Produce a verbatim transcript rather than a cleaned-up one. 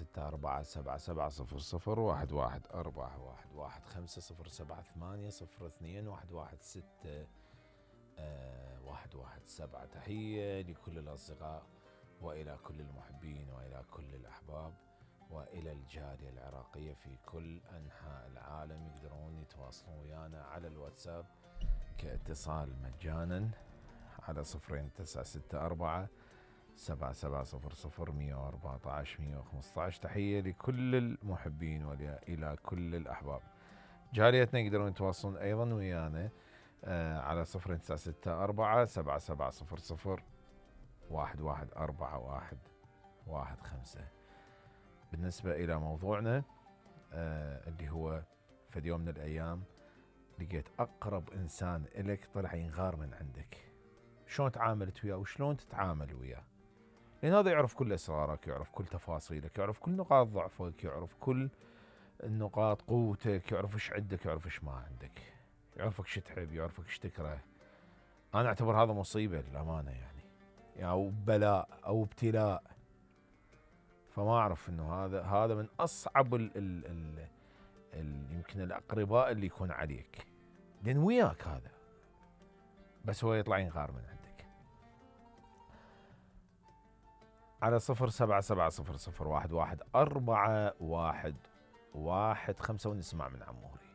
ستة أربعة سبعة سبعة صفر صفر واحد واحد أربعة واحد واحد خمسة صفر سبعة ثمانية صفر اثنين واحد واحد ستة واحد واحد سبعة. تحية لكل الأصدقاء وإلى كل المحبين وإلى كل الأحباب وإلى الجالية العراقية في كل أنحاء العالم. يقدرون يتواصلون ويانا على الواتساب كاتصال مجانا على صفرين تسعة ستة أربعة سبعة سبعة صفر صفر مية وأربعة عشر مية وخمسة عشر. تحية لكل المحبين وإلى كل الأحباب. جاليتنا يقدرون يتواصلون أيضا ويانا على صفرين تسعة ستة أربعة سبعة سبعة صفر صفر واحد واحد أربعة واحد واحد خمسة. بالنسبة إلى موضوعنا اللي هو في يوم من الأيام لقيت أقرب إنسان إلك طلع ينغار من عندك، شلون تعاملت وياه وشلون تتعامل وياه؟ لأن هذا يعرف كل أسرارك، يعرف كل تفاصيلك، يعرف كل نقاط ضعفك، يعرف كل النقاط قوتك، يعرف إيش عندك يعرف إيش ما عندك، يعرفك شو تحب يعرفك إيش تكره. أنا أعتبر هذا مصيبة للأمانة يعني، أو بلاء أو ابتلاء. فما أعرف إنه هذا هذا من أصعب ال ال ال ال يمكن الأقرباء اللي يكون عليك، لأن وياك هذا بس هو يطلع ينغار من عندك. على صفر سبعة سبعة صفر صفر واحد واحد أربعة واحد واحد خمسة ونسمع من عموري.